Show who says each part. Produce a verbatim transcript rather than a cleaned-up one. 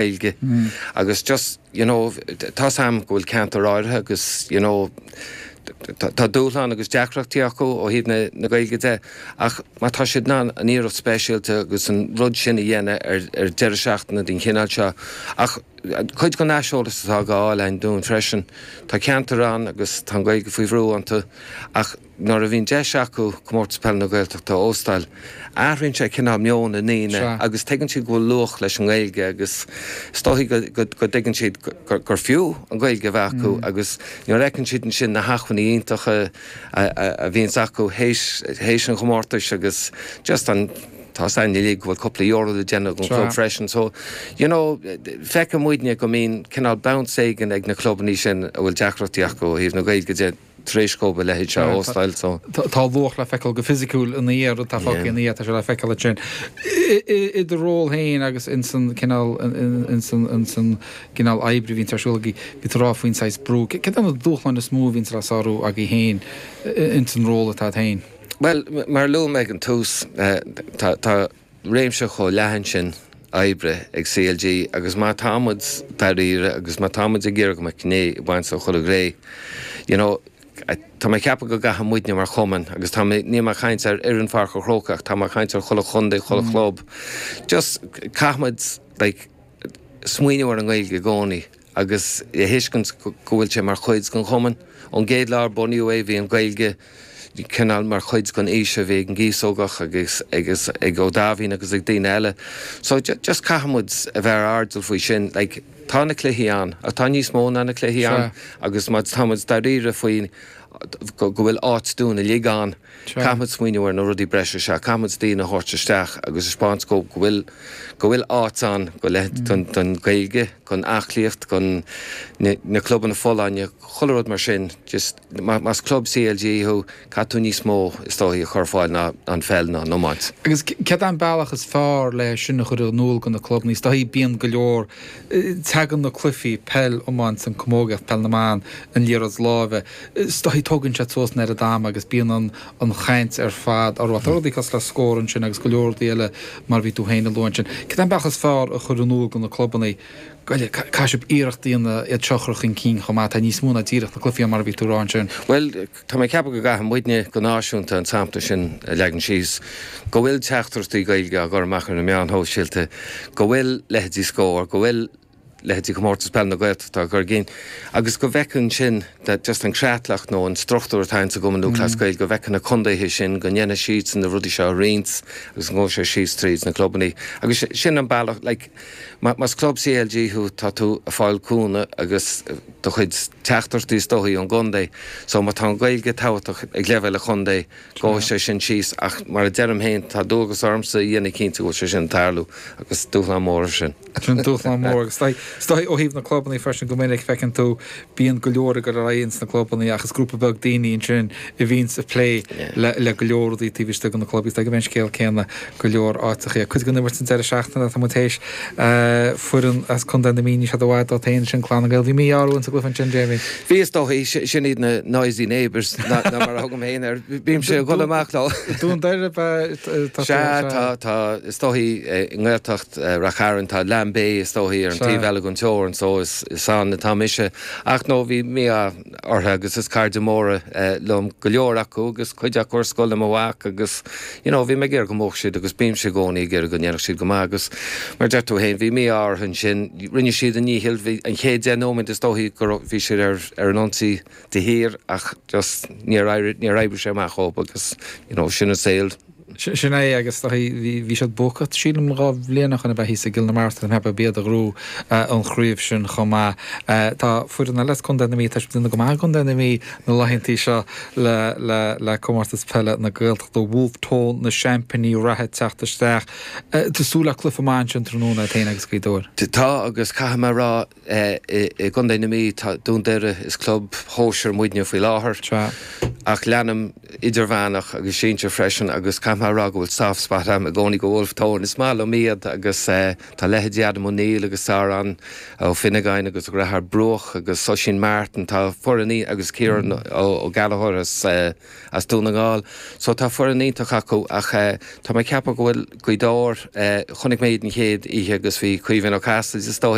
Speaker 1: Gaeilge agus just you know tá sam go bhfuil ceantar áirithe agus you know tá dúshlán agus deacrachtaí acu ó thaobh na na Gaeilge de ach má tá siad in ann an iarracht speisialta agus an rud sin a dhéanamh ar ar deireadh seachtaine den chineál seo ach cuid den aiseolas atá á fháil againn dúinn freisin tá ceantar ann agus tá an Ghaeilge faoi bhrú iontu ach nuair a bhíonn deis acu comórtas peile na Gaeltachta a óstáil athraíonn sé cineál meon na ndaoine agus tuigeann siad go bhfuil luach leis an nGaeilge agus is dóigh go dtuigeann siad gur fiú an Ghaeilge a bheith acu agus nuair a fheiceann siad ansin na hacmhainní iontacha a bhíonns acu théis an chomórtais agus just an tá san uilig go bhfuil cúpla euro le déanamh ag an club freisin so you know feiceann muidne go mbíonn cineál bounce éigin ag na clubanna sin a bhfuil deacrachtaí acu ó thaobh na Gaeilge de tar éis dóibh a leithéid seo a óstáil so.
Speaker 2: Tá luach le feiceáil go fisiciúil ina dhiaidh rud atá fágtha ina dhiaidh tá sé le feiceáil ansin. I do ról féin agus insan cineál insan insan gcineál oibre a bhíonns ar siúl agaibh bhí tú ag rá faoin saghas brú. Céard é na dúshláin is mó a bhíonns le sárú agaibh féin insan ról atá agat féin?
Speaker 1: Bhuel, mar a luaigh mé ag an tús, tá tá réimse chomh leathan sin oibre ag CLG agus má tá muid dáiríre agus má tá muid ag iarraidh go mbeadh gné ag baint le chuile ghné, you know, tá mé ag ceapadh go gcaithfidh muidne mar chumann agus tá mé, níl mé ag caint ar fhoireann Pháirc an Chrócaigh ach tá mé ag caint ar chuile chontae, chuile chlub, just caithfidh muid like smaoineamh ar an nGaeilge i gcónaí agus a thuiscint go bhfuil sé mar chuid den chumann. Ón gcéad lá ar bunaíodh é bhí an Ghaeilge cineál mar chuid den fhís a bhí ag an gCíosógach agus agus ag Ó Daimhín agus ag daoine eile. So just caithfidh muid a bheith ar airdeall faoi sin. Like tá na cluichí ann ach tá níos mó ná na cluichí ann agus má tá muid dáiríre faoi go bhfuil áit dúinn uilig ann, caithfidh muid smaoineamh ar na rudaí breise seo, caithfidh muid daoine a thabhairt isteach agus a 'speáint go go bhfuil go bhfuil áit ann go leith don don Ghaeilge, don aclaíocht, don na na clubanna folláine, chuile rud mar sin. Just más club CLG thú, caithfidh tú níos mó is dóichí a chur ar fáil ná an pheil ná an iomáint.
Speaker 2: Agus céard é an bealach is fearr le sin a chur in iúl do na clubanna? Is dóichí bíonn go leor, tagann na cluichí, peil, iomáint, an camógaíocht, peil na mban, an liathróid láimhe, is dóichí tógann siad suas an oiread ama agus bíonn an an chaint ar fad orthu. Tá rudaí cosúil le Scór ansin agus go leor rudaí eile mar a bhí tú féin a lua ansin. Céard é an bealach is fearr a chur in iúl do na clubanna? Caithfidh sibh iarracht a dhéanamh iad seo a chur chun cinn chomh maith. Tá níos mó ná díreach na cluichí mar a bhí tú a rá ansin.
Speaker 1: Bhuel, tá mé ag ceapadh go gcaithfidh muidne go náisiúnta an sampla sin a leagan síos, go bhfuil teachtaireachtaí Gaeilge á gcur amach ar na meáin shóisialta, go bhfuil leithéidí Scór, go bhfuil leithéidí Comórtas Peile na Gaeltachta á gcur chun cinn agus go bhfeiceann sin that just an creatlach nó an struchtúr atá ins an gCumann Lúthchleas Gael, go bhfeiceann na contaetha sin, go ndéanfaidh siadsan na rudaí seo a roinnt agus go ngabhfaidh sé síos tríd na clubannaí. Agus sin an bealach, like, más club CLG thú, tá tú ag fáil cúnamh agus do chuid teachtaireachtaí is dóichí ón gcontae. So má tá an Ghaeilge tábhachtach ag leibhéal an chontae, gabhfaidh sé sin síos ach mar a deirim féin, tá dualgas ormsa a dhéanamh cinnte go bhfuil sé sin ag tarlú agus dúshlán mór é sin.
Speaker 2: Sin dúshlán mór agus is dóigh ó thaobh na clubanna freisin go minic feiceann tú bíonn go leor ag dul ar aghaidh ins na clubanna ach is grúpa beag daoine ansin a bhíonns ag plé le le go leor rudaí taobh istigh de na club. Is dóigh go mbíonn an scéal céanna go leor áiteachaí. Cuid den imirt an deireadh seachtaine atá muid théis foireann as Contae na Mí níl siad i bhfad uait féin sin Clann na nGael. Bhí mí-ádh orthu insa gcluiche ansin Jamie.
Speaker 1: Bhí is dóigh sin iad na noisy neighbours ná mar a thugaim féin air. Bímse ag dul amach leo.
Speaker 2: Dún Doire tá
Speaker 1: Sea tá tá is dóichí i nGaeltacht Rath Cairn tá Lambay is dóichí ar an taobh eile den teorainn so is is ann atá mise. Ach no bhí mí-ádh orthu agus is cairde móra liom go leor acu agus cuid acu ar scoil le mo mhac agus you know bhí mé ag iarraidh go mbuafadh siad agus bímse i gcónaí ag iarraidh go ndéanfadh siad go maith agus mar a deir tú féin bhí mí-ádh orthu ansin. Rinne siad a ndícheall, bhí an chéad deich nóiméad is dóichí go raibh bhí siad ar ar an ionsaí de shíor ach just níor éirigh níor oibrigh sé amach dhóibh agus you know sin an saol.
Speaker 2: Sin é agus bhí siad buacach sílim dhá bhliain ó shin ab ea thíos i gCill na Martra tá mé ag ceapadh b'iad a ghnóthaigh an chraobh sin chomh maith. Tá foireann eile as Contae na Mí, tá siad ag déanamh go maith i gContae na Mí na laethantaí seo le le le Comórtas Peile na Gaeltachta, Wolfe Tone na seaimpíní reatha ag teacht isteach. Tá súil le cluiche maith ansin tráthnóna agat féin agus Gaoth Dobhair.
Speaker 1: Tá agus caithfidh mé a rá i gContae na Mí tá Dún Doire is club shóisir muidne faoi láthair ach leanaim idirmheánach agus sinsir freisin agus caithfidh Caithfidh mé a rá go bhfuil soft spot agam i gcónaí do Wolfe Tone. Is maith liom iad agus tá leithéidí Adam O'Neill agus Odhrán Ó Finnegáin agus a dheartháir Brooke agus Oisín Martin, tá foireann agus Kieran Ó Gallchóir as as Dún na nGall. So tá foireann iontach acu ach tá mé ag ceapadh go bhfuil Gaoth Dobhair, chonaic mé iad an chéad oíche agus bhí Caoimhín Ó Casaide is dóigh